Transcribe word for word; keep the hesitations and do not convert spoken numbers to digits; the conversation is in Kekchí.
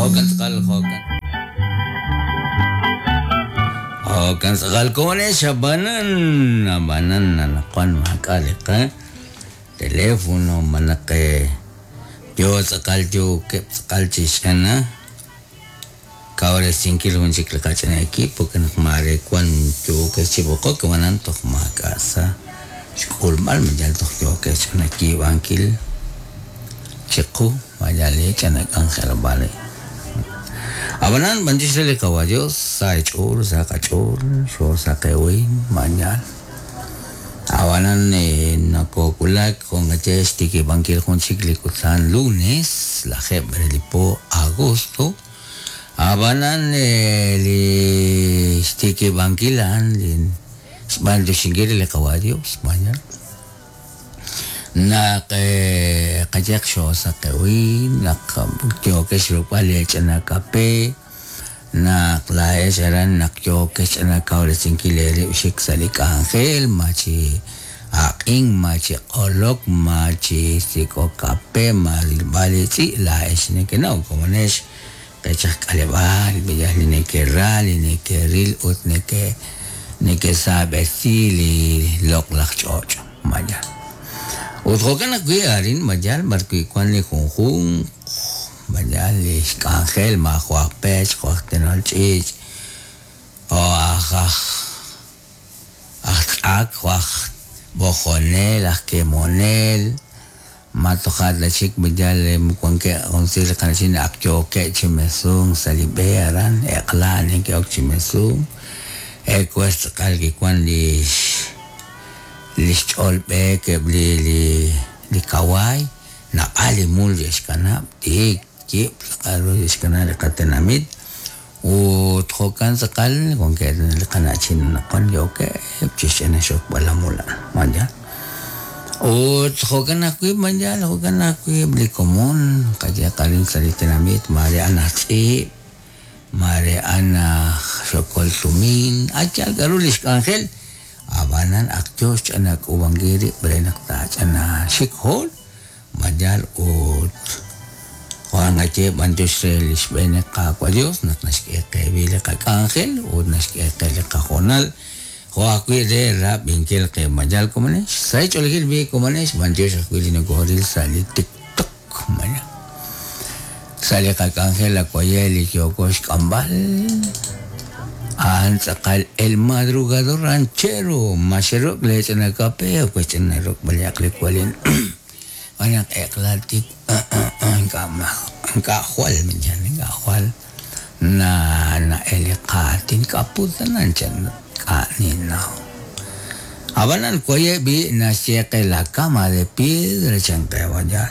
Jo'kan tz'aqal jo'kan. Jo'kan tz'aqal komonex ab'anan ab'anan anaqwan maak'a' li qa teléfono malaj yo tz'aqal yookeb' tz'aqal chi xch'ana kawresinkil jun chik li qach'ina equipo ke naq maare wan yookex chi b'oqok ab'anan toj maak'a' sa xk'ulb'al ma yal toj yookex ch'ina yiib'ankil chiqu ma yal li ch'ina k'anjelob'aal. Ab'anan b'antiox re li Qawa Dios sa ch'ool sa qach'ool xo sa qewin mañal. Ab'anan nakookulak jo'nqaye xtikib'ankil jun chik li kutan lunes lajeeb' re li po agosto. Ab'anan li xtikib'ankil a'an li xb'antioxinkil li Qawa Dios mañal. Naq qayaq xo sa qewin naq yookex ruk'b'al li ch'ina kape naq laa'ex aran naq yookex ch'ina kawresinkil eerib' xik sa' li k'anjel ma chi aq'in ma chi q'olok ma chi sik'ok kape ma rilb'al li tz'i' laa'ex nekenaw komonex qech aj k'aleb'aal b'iyaj li neke'ra li neke'ril ut neke neke'saab'esi li loq'laj ch'och' mañal. Ut jo'kan ajwi' arin mayal b'arwi' wan li junjunq mayal li xk'anjel ma jo' aj pech jo' aj tenol ch'iich' jo' aj aj aj tz'ak jo' aj b'ojonel aj kemonel ma toja' ta chik mayal wankeb' junsi li qana'chin ak yookeb' chi mesunk sa' li b'e aran eq'la neke'ok chi mesunk ekwes tz'aqal kiwan li li xch'ool b'eek eb' li li li kawaay nab'al li mul xe'xkanab' tiik yib' tz'aqal ru xe'xkanab' li qatenamit ut jo'kan tz'aqal wankeb' li qana'chin anaqwan yookeb' chi xch'ina xokb'al la mul a'an mañal. Ut jo'kan ajwi' mañal jo'kan ajwi' li komon qayehaq arin sa' li tenamit maare a'an aj tz'iib' maare a'an aj xokol tumin ayal k'a'ru li xk'anjel ab'anan ak yo xch'ina k'uub'ankil rib' re naq taach'ina xik hool mayal ut jo'an qaye b'antiox re li xb'een Qaawa' Dios naq naxk'e qe li qak'anjel ut naxk'e qe li qajoonal jo' ajwi' re rab'inkil qe mayal komonex sa' xch'oolejil bi komonex b'antiox ajwi' li nokooril sa' li TikTok mayal sa' li qak'anjel akuaye li yooko xk'amb'al a'an tz'aqal el madrugador ranchero maxerok le ch'ina kape o ch'ina ruk'b'al li kualin b'anaq eq'la tik ink'a' ink'a' jwal mañal ink'a' jwal na na eliqaatin k'aputanan chan k'a'ninaw. Ab'anan kuaye bi naxye qe la cama de piedra chan qe mayal.